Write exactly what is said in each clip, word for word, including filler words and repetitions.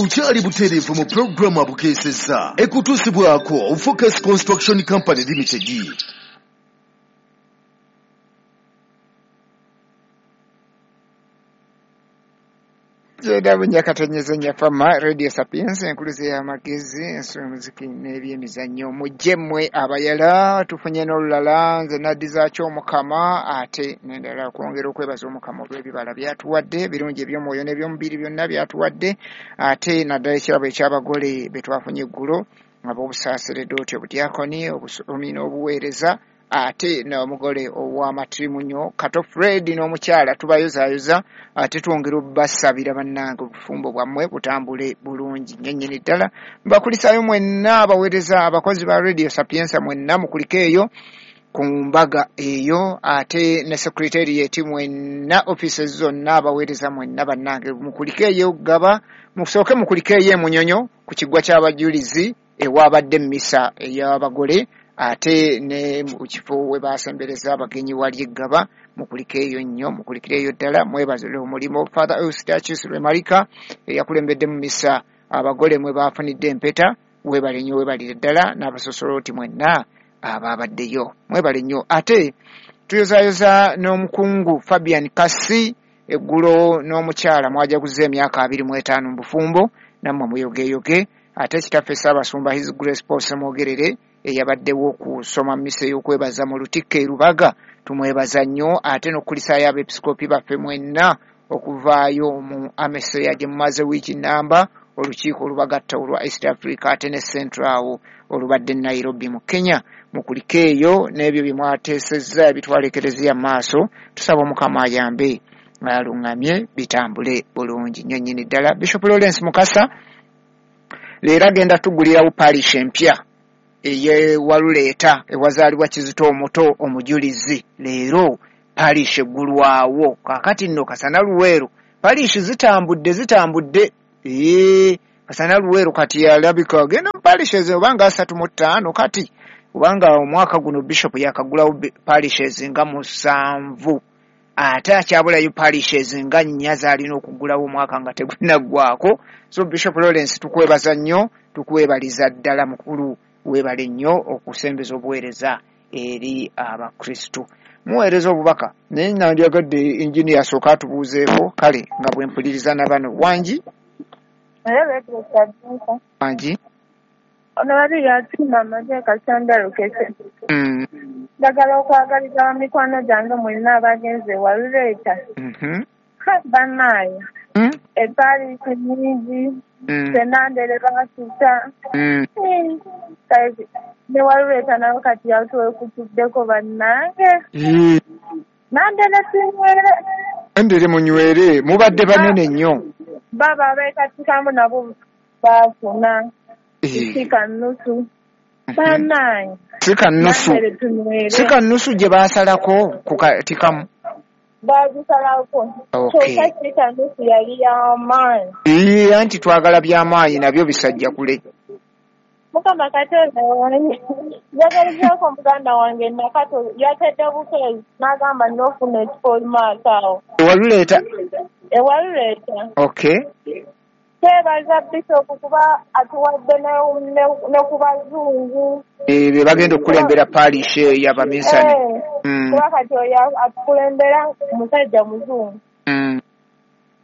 Tukyali butereevu mu pulogulaamu abukeesezza ekutuusibwako Focus Construction Company Limited. Jeda bunyakatonyeze nyafama Radio Sapiens enkuluze y'amagezi ensolo muziki n'ebyemizannyo mujje mmwe abayala tufunye n'olulala nze naddizaakyo Omukama ate n'endala okwongera okwebaza Omukama olw'ebibala byatuwadde birungi eby'omwoyo n'eby'omubiri byonna byatuwadde ate naddala ekirabo eky'abagole be twafunye eggulo ab'obusaaseredooti obudyakoni obusomi n'obuweereza ate n'omugole ow'amatirimunyo Kato Fred n'omukyala tubayozaayoza ate twongera obbasabira bannange obufumbo bwammwe butambule bulungi nnyo nnyini ddala. Mbakulisaayo mwenna abaweereza abakozi ba Radio Sapienza mwenna mukulike eyo ku mbaga eyo ate ne secretariat mwenna offices zonna abaweereza mwenna bannange mukulike eyo gaba musooke mukulike eyo emunyonyo ku kiggwa ky'abajulizi ewabadde mmisa ey'abagole ate ne mu kifo we basembereza abagenyi wali eggaba mukulike eyo nnyo mukulikire eyo ddala mwebazire omulimu Father Eustachius Remarika eyakulembedde mu misa abagole mwe baafunidde empeta weebale nnyo weebalire ddala n'abasosoloti mwenna abaabaddeyo mwebale nnyo. Ate tuyozaayoza n'omukungu Fabian Kasi eggulo n'omukyala mwajaguza emyaka abiri mu etaano mu bufumbo nammwe muyogeyoge. Ate kitaffe Ssaabasumba His Grace Paul Ssemwogerere eyabaddewo okusoma mmisa ey'okwebaza mu Lutikko e Lubaga tumwebaza nnyo ate n'okukulisaayo abeepisikoopi baffe mwenna okuvaayo mu ameseya gye mumaze wiiki nnamba olukiiko olubagatta olwa East Africa ate ne Central awo olubadde Nairobi mu Kenya mukulike eyo n'ebyo bye mwateesezza ebitwala Ekereziya mu maaso tusaba Omukama ayambe aluŋŋamye bitambule bulungi nnyo nnyini ddala. Bishop Lawrence Mukasa leero agenda tuggulirawo parish empya eyewaluleeta ewazaalibwa Kizito omuto omujulizi leero parish eggulwawo kaakati nno Kasana Luweero parish zitambudde zitambudde ee Kasana Luweero kati yalabika agenda mu parishes obanga asatu mu ttaano kati kubanga omwaka guno bishop yakagulawo parishes nga musanvu ate akyabulayo parishes nga nnya z'alina okuggulawo omwaka nga tegunaggwako. So Bishop Lawrence tukwebaza nnyo tukwebaliza ddala mukulu weebale nnyo okusembeza obuweereza eri abakristu. Muweereza obubaka naye nandyagadde engineer asooka atubuuzeeko kale nga bwe mpuliriza na bano wangi wangi ono bali yatumba amateeka Kasandalukese. Njagala okwagaliza bamikwano gyange mwenna abagenze Waluleeta bannaayo epaaliisi nnyingi Senandere baasusa ne Waluleeta nayo kati yatwekutuddeko bannange Nandere tunywere Nandere munywere mubadde banene nnyo baba abeekatikamu nabo baafuna sika nnusu bannange sika nnusu sika nnusu gye baasalako ku katikamu baagisalako kyokka sika nnusu yali y'amaanyi. Ee anti twagala by'amaanyi nabyo bisajja kule. Mukama Katonda wange njagalizaako muganda wange Nakato yatedde bukeezi n'agamba n'ofuna ekifo maaso awo Ewaluleeta Ewaluleeta. Okay. Twebaza Bishop kuba atuwadde ne ku bazungu be bagenda okukulembera parish ey'abaminsani kuba kati oyo atukulembera musajja muzungu.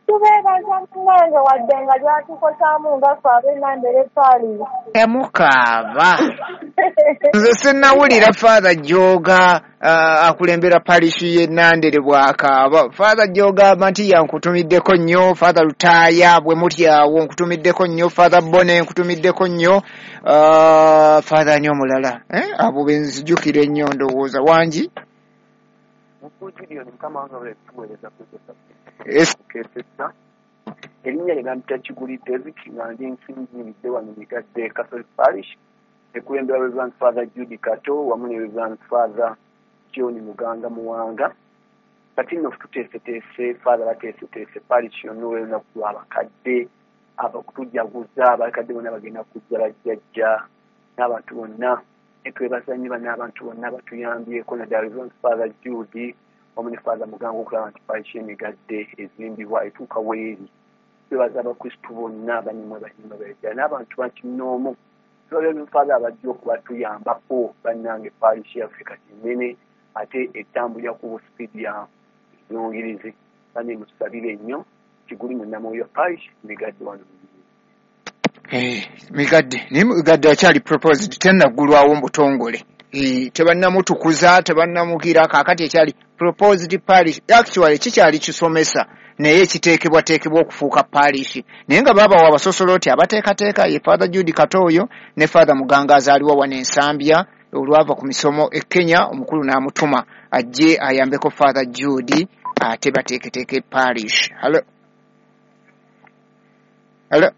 Tubeebaza munnange wadde nga lyatukosaamu nga ffe ab'Enandere parish. Temukaaba nze sinnawulira Father Joga uh, akulembera parish y'e Nandere bw'akaaba. Father Joga Matiya nkutumiddeko nnyo, Father Lutaaya bwe mutyawo nkutumiddeko nnyo, Father Bone nkutumiddeko nnyo, uh, Father ani omulala eh? Abo be nzijukira ennyo ndowooza wangi erinnya lye bampita Kiguli David nga ndi nsinziridde wano Migadde Catholic Parish ekulembera Reverend Father Jude Kato wamu ne Reverend Father John Muganga Muwanga. Kati nno tuteeseteese Father bateeseteese parish yonna olw'olunaku lw'abakadde abakutujaguza abakadde bonna bagenda kujja bajjajja n'abantu bonna netwebaza nnyo bano abantu bonna batuyambyeko naddala Reverend Father Jude wamu ne Father Muganga okulaba nti parish y'Emigadde ezimbibwa etuuka weeri. Twebaza Abakristu bonna abanyuma banyuma beddala n'abantu bakinoomu. Twebaza Father abajja okubatuyambako. Bannange, parish yaffe kati nnene ate etambulira ku sipiidi ya yongirizi. Bane, mutusabire nnyo. Kiguli Munnamwoyo, parish Migadde wano. Eh, Migadde, naye Migadde akyali proposed, tennaggulwawo mu butongole. Eh, tebannamutukuza, tebannamugira. Kaakati ekyali proposed parish, actually kikyali kisomesa, naye kiteekebwateekebwa okufuuka parish, naye nga baabawa abasosoloti abateekateeka, ye Father Jude Katooyo ne Father Muganga azaaliwa wano Ensambya. Olwava ku misomo e Kenya, omukulu n'amutuma ajje ayambeko Father Jude ate bateeketeeke parish. Hello, hello.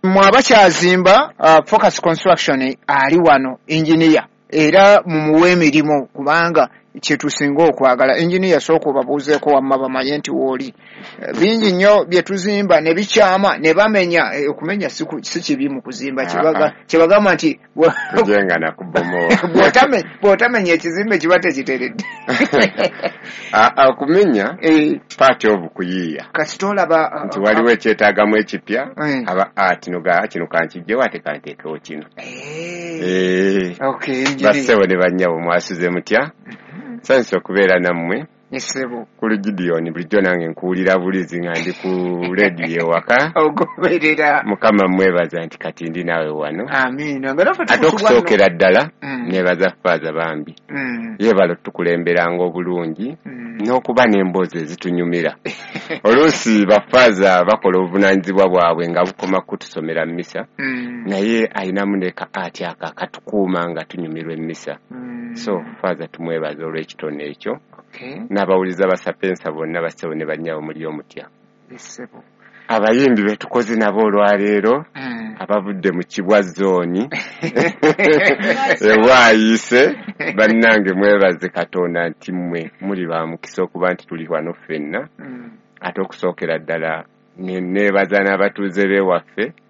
Mwe abakyazimba, uh, Focus Construction ali wano, engineer, era mumuwe emirimu kubanga kyetusinga okwagala. Engineer, sooka obabuuzeeko wamma bamanye nti wooli. Eh, bingi nnyo bye tuzimba ne bikyama ne bamenya. Eh, okumenya si ku- si kibi mu kuzimba. Kyebaga- kyebagamba nti kujenga na kubomoa. bw'otame- bw'otamenya ekizimbe kiba tekiteredde. Ah, okumenya Eh, part of kuyiiya. Kasita olaba uh, Nti waliwo ekyetaagamu ekipya, Eh. aba ati noga kino kankijjewo ate kanteekewo kino. Eh, Eh, okay, engineer. Bassebo ne bannyabo, mwasuze mutya? Nsanyuse okubeera nammwe. Essebo. Ku Gideon, bulijjo nange nkuwulira bulizi nga ndi ku rediyo ewaka. Ogoberera. Mukama mwebaza nti kati ndi naawe wano. Amiina, nga naffe Ate tukusubwa nno. okusookera ddala Mm. nebaza Faaza bambi, Mm, yeebala otukulemberanga obulungi mm. n'okuba n'emboozi ezitunyumira. Oluusi bafaaza bakola obuvunaanyizibwa bwabwe nga bukoma kutusomera mmisa, Mm, naye ayinamu ne ka ati ako akatukuuma nga tunyumirwa emmisa. mm. So Faaza tumwebaza olw'ekitone ekyo. Okay, N'abawuliza Basapensa bonna, bassebo ne bannyabo, muli omutya? Essebo. Abayimbi be tukoze nabo olwaleero, Mm. abavudde mu Kibwa Zooni ewaayise, bannange, mwebaze Katonda nti mmwe muli ba mukisa okuba nti tuli wano ffenna. Mm. Ate okusookera ddala ne- neebaza n'abatuuze b'ewaffe.